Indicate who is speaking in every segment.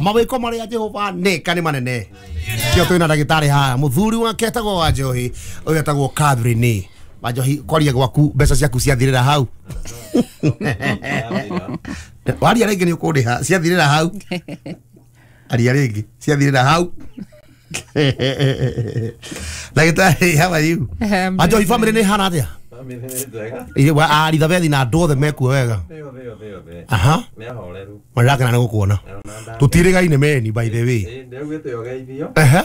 Speaker 1: Mawĩko marĩa Jehova nĩka nĩ manene. Kĩo twĩna ndagĩtarĩ haha, mũthuri wake etagwo Wanjohi, ũyũ etagwo Catherine. Wanjohi, kwaria gwaku mbeca ciaku ciathirĩra hau. Waria rĩngĩ nĩ ũkũndĩha, ciathirĩra hau. Aria rĩngĩ, ciathirĩra hau. Ndagĩtarĩ, how are you? Wanjohi, family nĩ ĩhana atĩa? Arithabethi na andũ othe mekuo wega. Aha. Marakena nĩ gũkuona. Tũtirĩgaine meni by the way. Ehe.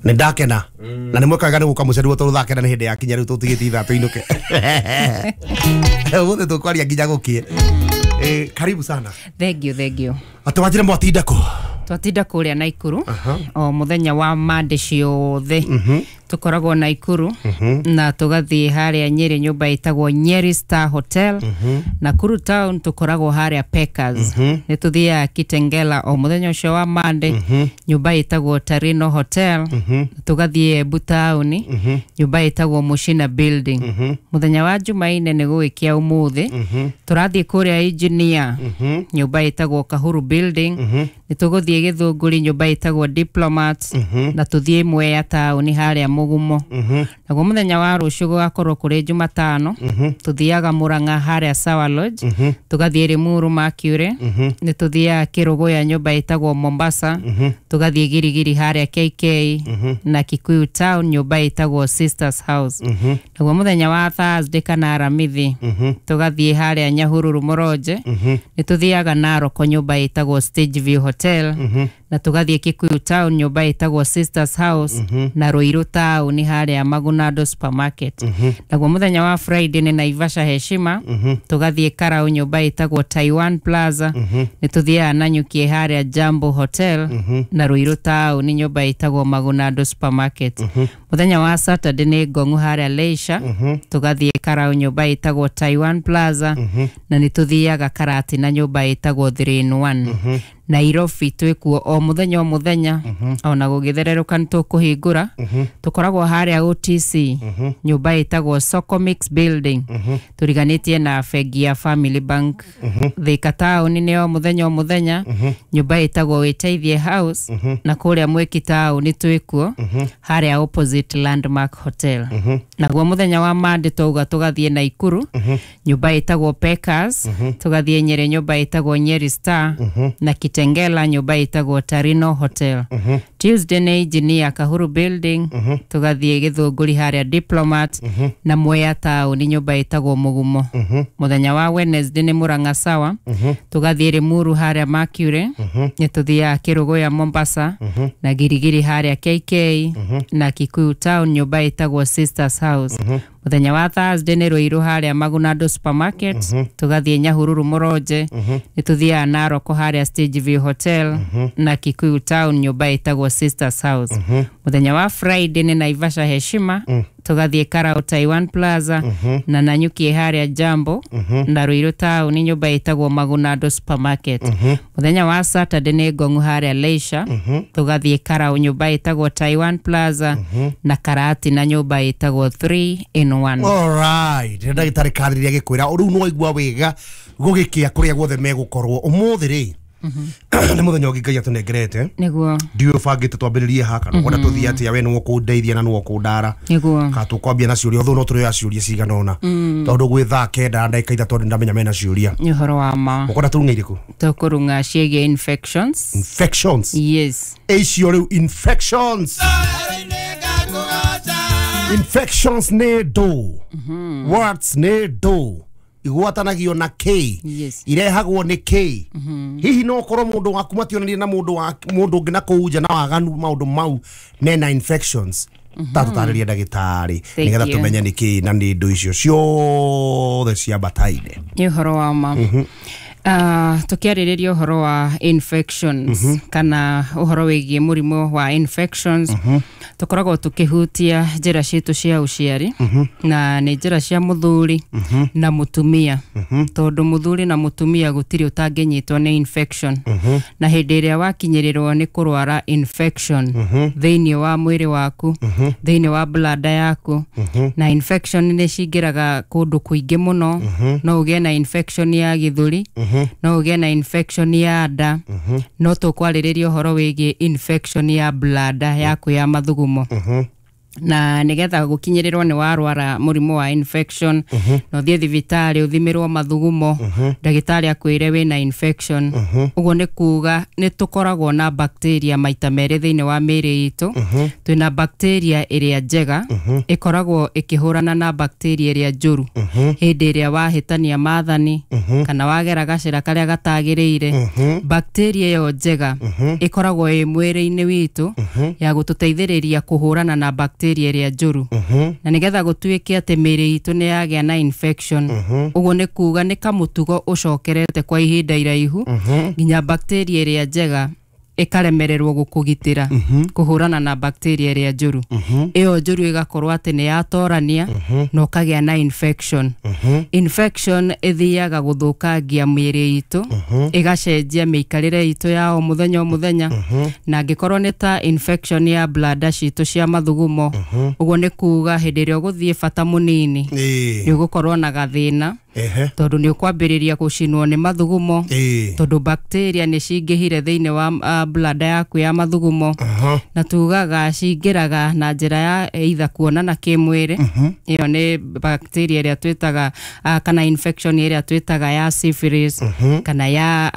Speaker 1: Nĩ ndakena. Na nĩ mweka wega nĩ gũka mũceruo tondũ thaa 9 nĩ hĩndĩ yakinya rĩu tũtigĩtie ithaa tũinũke. Ũmũthĩ tũkwaria nginya gũkĩe. Karibu sana.
Speaker 2: Thank you, thank you.
Speaker 1: Atĩ wanjĩre mwatinda kũ?
Speaker 2: Twatinda kũrĩa Naikuru o mũthenya wa Monday ciothe. Tũkoragwo Naikuru na tũgathiĩ harĩa Nyeri nyũmba ĩtagwo Nyeri Star Hotel. Nakuru town tũkoragwo harĩa Packers. Nĩ tũthiaga Kitengela o mũthenya ũcio wa Monday nyũmba ĩtagwo Tarino Hotel. Tũgathiĩ Embu town nyũmba ĩtagwo Mushina Building. Mũthenya wa Jumaine nĩ gũgĩkĩa ũmũthĩ tũrathiĩ kũrĩa Engineer nyũmba ĩtagwo Kahuru Building. Nĩ tũgũthiĩ Gĩthũngũri nyũmba ĩtagwo Diplomat na tũthiĩ Mwea taũni harĩa Mũgumo. Naguo mũthenya wa rũciũ gũgakorwo kũrĩ Jumatano tũthiaga Murang'a harĩa Sawa Lodge, tũgathiĩ Limuru Mercury, nĩ tũthiaga Kĩrũgũya nyũmba ĩtagwo Mombasa, tũgathiĩ Girigiri harĩa KK na Kikuyu Town nyũmba ĩtagwo Sisters House. Naguo mũthenya wa Thursday kana Aramithi tũgathiĩ harĩa Nyahururu Mũronje, nĩ tũthiaga Naroko nyũmba ĩtagwo Stage View Hotel na tũgathiĩ Kikuyu Town nyũmba ĩtagwo Sisters House na Ruiru Town harĩa Magunado Supermarket. Naguo mũthenya wa Friday nĩ Naivasha Heshima, tũgathiĩ Karau nyũmba ĩtagwo Taiwan Plaza, nĩ tũthiaga Nanyuki harĩa Jambo Hotel na Ruiru Town nyũmba ĩtagwo Magunado Supermarket. Mũthenya wa Saturday nĩ Ngong'u harĩa Leisure, tũgathiĩ Karau nyũmba ĩtagwo Taiwan Plaza na nĩ tũthiaga Karatina nyũmba ĩtagwo 3 in 1. Nairobi twĩkuo o mũthenya o mũthenya ona gũgĩthererũka nĩ tũkũhingũra. Tũkoragwo harĩa OTC nyũmba ĩtagwo Soko Mix Building tũriganĩtie na bengi ya Family Bank. Thika town nĩ o mũthenya o mũthenya nyũmba ĩtagwo Wĩteithie House na kũrĩa Mwiki town twĩkuo harĩa opposite Landmark Hotel. Naguo mũthenya wa Monday twauga tũgathiĩ Naikuru nyũmba ĩtagwo Packers, tũgathiĩ Nyeri nyũmba ĩtagwo Nyeri Star na Kitengela nyũmba ĩtagwo Tarino Hotel. Tuesday nĩ Engineer Kahuru Building, tũgathiĩ Gĩthũngũri harĩa Diplomat na Mwea town nyũmba ĩtagwo Mũgumo. Mũthenya wa Wednesday nĩ Murang'a Sawa, tũgathiĩ Limuru harĩa Mercury, nĩ tũthiaga Kĩrũgũya Mombasa na Girigiri harĩa KK na Kikuyu Town nyũmba ĩtagwo Sisters House. Mũthenya wa Thursday nĩ Ruiru harĩa Magunado Supermarket, tũgathiĩ Nyahururu Mũronje, nĩ tũthiaga Naroko harĩa Stage View Hotel na Kikuyu Town nyũmba ĩtagwo Sisters House. Mũthenya wa Friday nĩ Naivasha Heshima, tũgathiĩ Karau Taiwan Plaza na Nanyuki harĩa Jambo na Ruiru Town nyũmba ĩtagwo Magunado Supermarket. Mũthenya wa Saturday nĩ Ngong'u harĩa Leisure, tũgathiĩ Karau nyũmba ĩtagwo Taiwan Plaza na Karatina nyũmba ĩtagwo 3 in 1.
Speaker 1: Alright, ndagĩtarĩ Catherine agĩkwĩra rĩu no waigua wega gũgĩkĩa kũrĩa guothe megũkorwo ũmũthĩ rĩ nĩ mũthenya ũngĩ Ngai atũnengerete.
Speaker 2: Nĩguo.
Speaker 1: Ndiũĩ ũbangĩte twambĩrĩrie ha kana ũkwenda tũthiĩ atĩa, we nĩwe ũkũndeithia na nĩwe ũkũndara.
Speaker 2: Nĩguo.
Speaker 1: Kana tũkwambia na ciũria, although no tũrĩoya ciũria cigana ũna tondũ gwĩ thaa 9 na ndagĩka 3 nĩ ndamenya mena ciũria.
Speaker 2: Nĩ ũhoro wa ma.
Speaker 1: Ũkwenda tũrung'e irĩkũ?
Speaker 2: Tũkũrung'a ciĩgiĩ infections.
Speaker 1: Infections.
Speaker 2: Yes.
Speaker 1: Icio rĩu infections. Infections nĩ ndũ. Words nĩ ndũ. Igwatanagio na K.
Speaker 2: Yes.
Speaker 1: Irehagwo nĩ K. Hihi no ũkorwo mũndũ waku mationanie na mũndũ wa mũndũ ũngĩ na kũu nja na waganu maũndũ mau nena infections. Tatũtarĩrie ndagĩtarĩ nĩgetha
Speaker 2: you.
Speaker 1: tũmenye nĩ kĩ na nĩ ndũ icio ciothe ciambataine.
Speaker 2: Nĩ ũhoro wa ma. Tũkĩarĩrĩria ũhoro wa infections kana ũhoro wĩgiĩ mũrimũ wa infections, tũkoragwo tũkĩhutia njĩra citũ cia ũciari na nĩ njĩra cia mũthuri na mũtumia, tondũ mũthuri na mũtumia gũtirĩ ũtangĩnyitwo nĩ infection. Na hĩndĩ ĩrĩa wakinyĩrĩrwo nĩ kũrwara infection thĩinĩ wa mwĩrĩ waku, thĩinĩ wa bladder yaku, na infection nĩ cingĩraga kũndũ kũingĩ mũno. No ũgĩe na infection ya gĩthũri, No ũgĩe na infection ya nda. No tũkwarĩrĩria ũhoro wĩgiĩ infection ya bladder yaku ya mathugumo, na nigetha gukinyĩrĩrwo nĩ warwara mũrimũ wa infection na ũthiĩ thibitarĩ ũthimĩrwo mathugumo, ndagĩtarĩ akwĩre wĩna infection, ũguo nĩ kuga nĩ tũkoragwo na bacteria maita merĩ thĩinĩ wa mĩĩrĩ itũ. Twĩna bacteria ĩrĩa njega ĩkoragwo ĩkĩhũrana na bacteria ĩrĩa njũru. Hĩndĩ ĩrĩa wahĩtania maathani kana wagera gacĩra karĩa gatagĩrĩire, bacteria ĩyo njega ĩkoragwo ĩ mwĩrĩ-inĩ witũ ya gũtũteithĩrĩria kũhũrana na bacteria ĩrĩa njũru. Na nĩgetha gũtuĩke atĩ mĩĩrĩ itũ nĩ yagĩa na infection, ũguo nĩ kuga nĩ kamũtugo ũcokerete kwa ihinda iraihu nginya bacteria ĩrĩa njega ĩkaremererwo gũkũgitĩra kũhũrana na bacteria ĩrĩa njũru. Ĩyo njũru ĩgakorwo atĩ nĩ yatorania na ũkagĩa na infection. Infection ĩthiaga gũthũkangia mĩĩrĩ itũ, ĩgacenjia mĩikarĩre itũ ya o mũthenya o mũthenya. Na angĩkorwo nĩ ta infection ya bladder citũ cia mathugumo, ũguo nĩ kuga hĩndĩ ĩrĩa ũgũthiĩ bata mũnini nĩ ũgũkorwo na gathĩna, tondũ nĩ ũkwambĩrĩria gũcinwo nĩ mathugumo, tondũ bacteria nĩ cingĩhire thĩinĩ wa bladder yaku ya mathugumo. Na tugaga cingĩraga na njĩra ya either kuonana kĩmwĩrĩ, ĩyo nĩ bacteria ĩrĩa twĩtaga kana infection ĩrĩa twĩtaga ya syphilis kana ya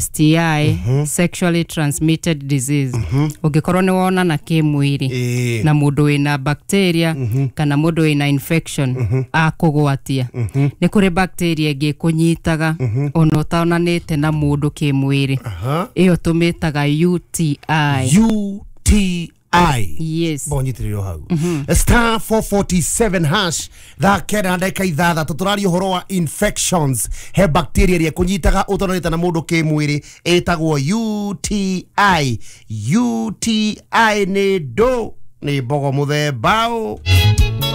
Speaker 2: STI, sexually transmitted disease. Ũngĩkorwo nĩ wonana kĩmwĩrĩ na mũndũ wĩna bacteria kana mũndũ wĩna infection akũgwatia, nĩ kũrĩ bacteria ĩngĩ ĩkũnyitaga ona ũtonanĩte na mũndũ kĩmwĩrĩ. Ĩyo tũmĩtaga UTI.
Speaker 1: UTI.
Speaker 2: Yes.
Speaker 1: Bonyitĩrĩrwo hau, *447# thaa 9:06. Tũraria ũhoro wa infections. He bacteria ĩrĩa ĩkũnyitaga ũtonanĩte na mũndũ kĩmwĩrĩ ĩtagwo UTI. UTI nĩ ndũ nĩ mbogo mũthemba ũ?